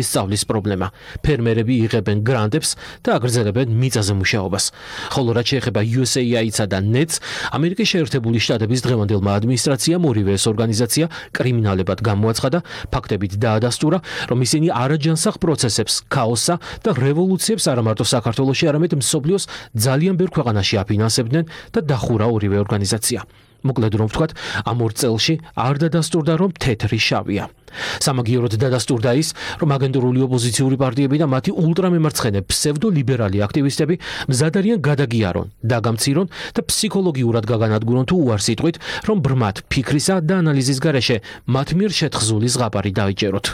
სწავლის პრობლემა. ფერმერები იღებენ გრანტებს და აგრძელებენ მიწაზე მუშაობას. ხოლო რაც შეეხება USAID-ს და NETS, ამერიკის შეერთებული შტატების დღევანდელმა ადმინისტრაციამ ორივე ეს ორგანიზაცია კრიმინალებად გამოაცხადა, ფაქტებით დაადასტურა, რომ ისინი არაჯანსაღ პროცესებს, ქაოსსა და რევოლუციებს არა მარტო საქართველოში, არამედ მსოფლიოს ძალიან ბევრ ქვეყანაში აფინანსებდნენ და დახურა ორივე ორგანიზაცია. მოკლედ რომ ვთქვათ, ამ ორ წელში არ დადასტურდა, რომ თეთრი შავია. სამაგიეროდ დადასტურდა ის, რომ აგენტურული ოპოზიციური პარტიები და მათი ულტრამემარცხენე ფსევდოლიბერალი აქტივისტები მზად არიან გადაგიარონ, დაგამცირონ და ფსიქოლოგიურად გაგანადგურონ თუ უარ სიტყვით, რომ ბრმად ფიქრისა და ანალიზის გარეშე მათ მიერ შეთხზული ზღაპარი დაიჭეროთ.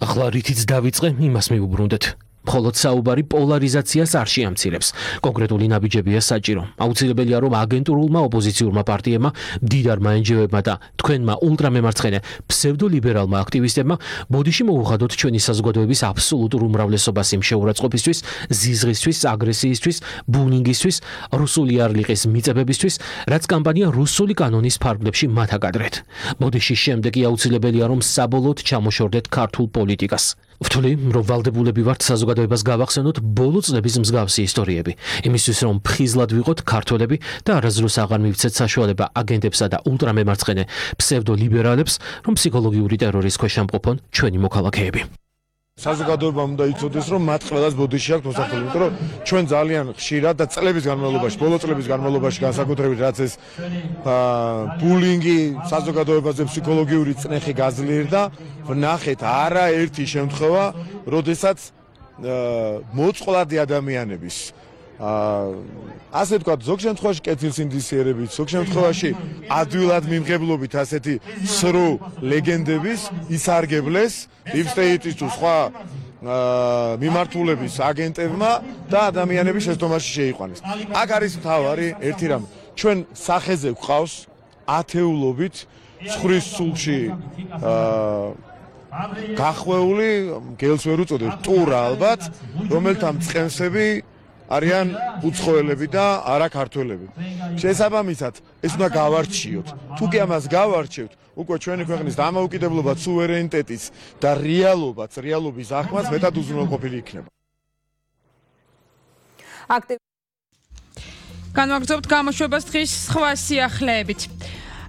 ახლა რითიც დავიწყე, იმას მივუბრუნდეთ. მხოლოდ საუბარი პოლარიზაციას არ შეამცირებს. კონკრეტული ნაბიჯებია საჭირო. აუცილებელია, რომ აგენტურულმა ოპოზიციურმა პარტიებმა, მდიდარმა NGO-ებმა და თქვენმა ულტრამემარცხენე ფსევდოლიბერალმა აქტივისტებმა ბოდიში მოუხადოთ ჩვენი საზოგადოების აბსოლუტურ უმრავლესობას იმ შეურაცხყოფისთვის, ზიზღისთვის, აგრესიისთვის, ბულინგისთვის, რუსული არლიყის მიწებებისთვის, რაც კამპანია რუსული კანონის ფარგლებში მათ აკადრეთ. ბოდიშის შემდეგ აუცილებელია, რომ საბოლოოდ ჩამოშორდეთ ქართულ პოლიტიკას. ვთვლი, რომ ვალდებულები ვართ საზოგადოებას გავახსენოთ ბოლო წლების მსგავსი ისტორიები, იმისთვის რომ ფხიზლად ვიყოთ ქართველები და არასდროს აღარ მივცეთ საშუალება აგენტებსა და ულტრამემარცხენე ფსევდოლიბერალებს, რომ ფსიქოლოგიური ტერორის ქვეშ ამყოფონ ჩვენი მოქალაქეები. საზოგადოებამ უნდა იცოდეს, რომ მათ ყველას ბოდიში აქვს მოსახლე, იმიტომ რომ ჩვენ ძალიან ხშირად და წლების განმავლობაში, ბოლო წლების განმავლობაში განსაკუთრებით რაც ეს ბულინგი საზოგადოებაზე ფსიქოლოგიური წნეხი გაძლიერდა, ვნახეთ არაერთი შემთხვევა, როდესაც მოწყვლადი ადამიანების ასე ვთქვათ, ზოგ შემთხვევაში კეთილ სინდისიერებით, ზოგ შემთხვევაში ადვილად მიმღებლობით ასეთი სრულ ლეგენდების ისარგებლეს Deep State-ის თუ სხვა მიმართულების აგენტებმა და ადამიანების შეცდომაში შეიყვანეს. აქ არის მთავარი ერთი რამ. ჩვენ სახეზე გვყავს ათეულობით ცხვრის სულში გახვეული, გელს ვერ უწოდებ, ტურა ალბათ, რომელთა მწყემსები არიან უცხოელები და არა ქართველები. შესაბამისად, ეს უნდა გავარჩიოთ. თუ კი ამას გავარჩევთ, უკვე ჩვენი ქვეყნის დამოუკიდებლობა, სუვერენიტეტის და რეალობის აღქმას მეტად უზრუნველყოფილი იქნება. განვაგრძობთ გამოშვებას დღის სხვა სიახლეებით.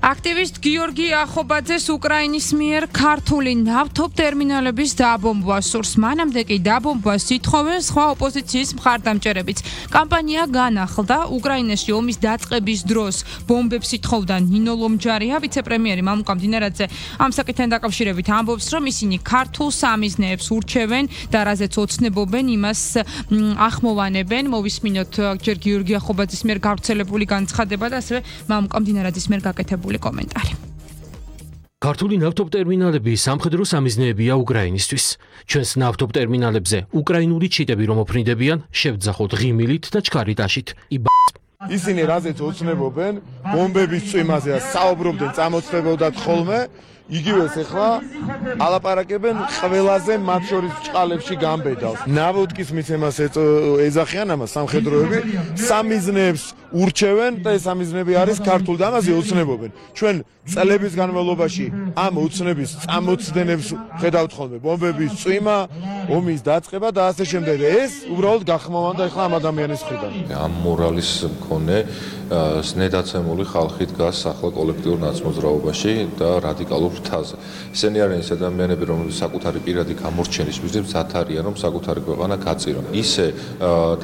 აქტივისტ გიორგი ახობაძეს უკრაინის მიერ ქართული ნავთობტერმინალების დაბომბვა სურს. მანამდე კი დაბომბვას ითხოვენ სხვა ოპოზიციის მხარდამჭერებიც. კამპანია განახლდა. უკრაინაში ომის დაწყების დროს ბომბებს ითხოვდა ნინო ლომჯარია. ვიცე-პრემიერი მამუკა მდინარაძე ამ საკითხთან დაკავშირებით ამბობს, რომ ისინი ქართულ სამიზნეებს ურჩევენ და რაზეც ოცნებობენ, იმას ახმოვანებენ. მოვისმინოთ ჯერ გიორგი ახობაძის მიერ გავრცელებული განცხადება და ასევე მამუკა მდინარაძის მიერ გაკეთებული კომენტარი. ქართული ნავთობტერმინალები სამხედრო სამიზნეებია უკრაინისთვის. ჩვენს ნავთობტერმინალებზე უკრაინული ჩიტები რომ ოფრინდებიან, შევძახოთ ღიმილით და ჩქარიტაშით. ისინი რაზეც ოცნებობენ, ბომბების წვიმაზე საუბრობდნენ, წამოწდებოდათ ხოლმე, იგივეს ახლა ალაპარაკებენ ყველაზე მათ შორის ჭყალებში გამბედავს. ნავოდკის მიცემას ეძახიან ამას სამხედროები, სამიზნეებს ურჩევენ და ეს სამიზნეები არის ქართულ და ამაზე ოცნებობენ. ჩვენ წლების განმავლობაში ამ ოცნების წამოწდენებს ხედავთ ხოლმე, ბომბების წვიმა, ომის დაწყება და ასე შემდეგ. ეს უბრალოდ გახმოვანდა ახლა ამ ადამიანის მხრიდან. ამ მორალის მქონე სნედაცემული ხალხი დგას ახლა კოლექტიურ ნაცმოძრაობაში და რადიკალურ ფრთაზე. ისინი არიან ის ადამიანები, რომლებიც საკუთარი პირადი გამორჩენის მიზნით მზად არიან, რომ საკუთარი ქვეყანა გაწირონ. ისე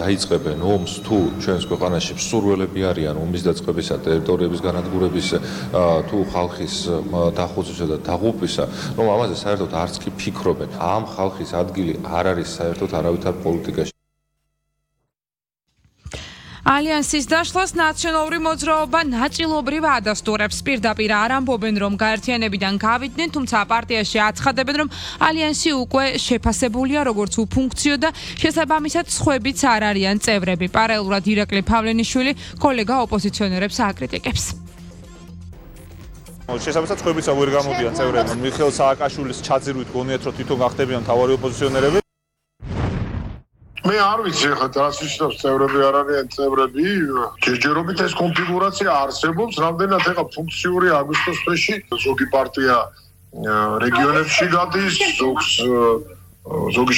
დაიწყებენ ომს თუ ჩვენს ქვეყანაში მსურველები არიან ომის დაწყებისა, ტერიტორიების განადგურების თუ ხალხის დახოცვისა და დაღუპვისა, რომ ამაზე საერთოდ არც კი ფიქრობენ. ამ ხალხის ადგილი არ არის საერთოდ არავითარ პოლიტიკაში. ალიანსის დაშლას ნაციონალური მოძრაობა ნაწილობრივ ადასტურებს. პირდაპირ არ ამბობენ, რომ გაერთიანებიდან გავიდნენ, თუმცა პარტიაში აცხადებენ, რომ ალიანსი უკვე შეფასებულია როგორც უფუნქციო და შესაბამისად სხვებიც არ არიან წევრები. პარალელურად ირაკლი ფავლენიშვილი კოლეგა ოპოზიციონერებს აკრიტიკებს. შესაბამისად სხვებიც ვერ გამოდიან წევრები. მიხეილ სააკაშვილის ჩაძირვით გონიათ, რომ თვითონ გახდებიან მთავარი ოპოზიციონერები. მე არ ვიცი ხა რას ნიშნავს წევრები არ არიან წევრები. ჯერჯერობით ეს კონფიგურაცია არსებობს, რამდენად ეხა ფუნქციური აგვისტოს თვეში ზოგი პარტია რეგიონებში გადის, ზოგს ზოგი